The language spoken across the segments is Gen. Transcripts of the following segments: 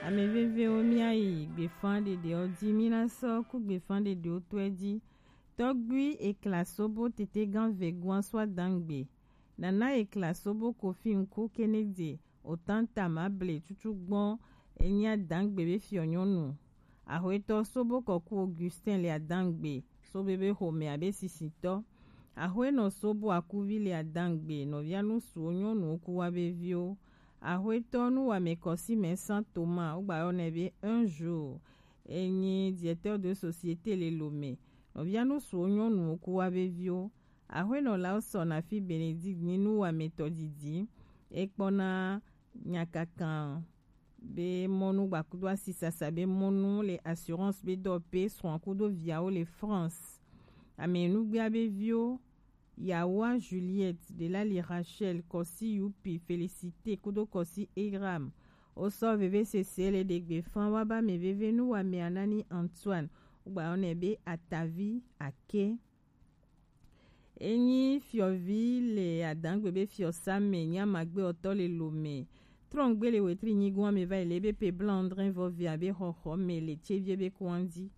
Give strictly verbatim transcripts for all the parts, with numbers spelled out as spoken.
Ame vevewo, míayi gbefan ɖeɖewo ji, mína sɔ ku gbefan ɖeɖewo tɔe ji. Tɔgbui Ekla Sobo Tetegan Vegoan so adangbe. Nana Ekla Sobo Kofi Nku Kenedze Otanta Mable Tutu Gbɔn enyi adangbe be fiɔ nyɔnu. Axwetɔ Sobo Kɔku Augustin le adangbe so bebe xomea be sisitɔ. Axwenɔ Sobo Akuvi le adangbe nɔvia nusuwo nyɔnuwo ku wa be viwo. Axwetɔ Nuwame Kɔsimɛ San Thomas, wogba yɔ nɛ be un jour, enyi directeur de société le Lomé. Nɔvia nusuwo nyɔnuwo ku wa be viwo. Axwenɔ Lawson Afi Benedict nyi nuwametɔ didi. Ekpɔna nyakakan be mɔnu gbakudo asisasa be mɔnu le assurance be dɔ pe srɔ̃ kudo viawo le France. Ame nugbea be viwo, Yawa Juliette, Delali Rachel, Kɔsi Yupi, Félicité kudo Kɔsi Eram. Wosɔ veve sese le ɖegbe fan wa ba ame veve nuwamea Nani Antoine, wogba yɔ nɛ be Atavi Ake. Enyi fiɔvi le adangbe be fiɔsa me, nyi amagbe ɔtɔ le Lomé. Trɔngbe le wetri nyigoa me va yi le be pe blanc André vɔ via be xɔxɔ me le tsevie be kuan ji.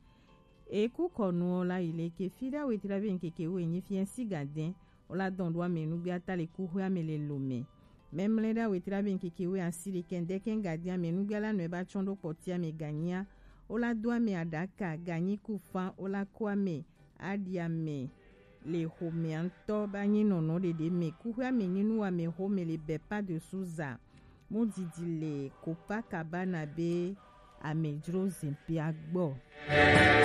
Eku kɔnuɔ la yi le ke fi ɖa wetri be nkeke wo enyi fia si gadɛn. Wola dɔn ɖo ame nugbe ata le kuxwe ame le Lomé. Mɛmlɛ ɖa wetri be nkeke wo asi le kɛndɛ kɛn gadɛn ame nugbe la nɔe ba tsɔn ɖo kpɔtia me ganyia. Wola do ame aɖaka ganyi ku fan wola ko ame aɖi ame le xomea ŋutɔ ba nyi nɔnɔ ɖeɖe me. Kuxwea me nyi nuwamexome le Bepa de Souza. Mu didi le Copacabana be amedzro zikpuia gbɔ.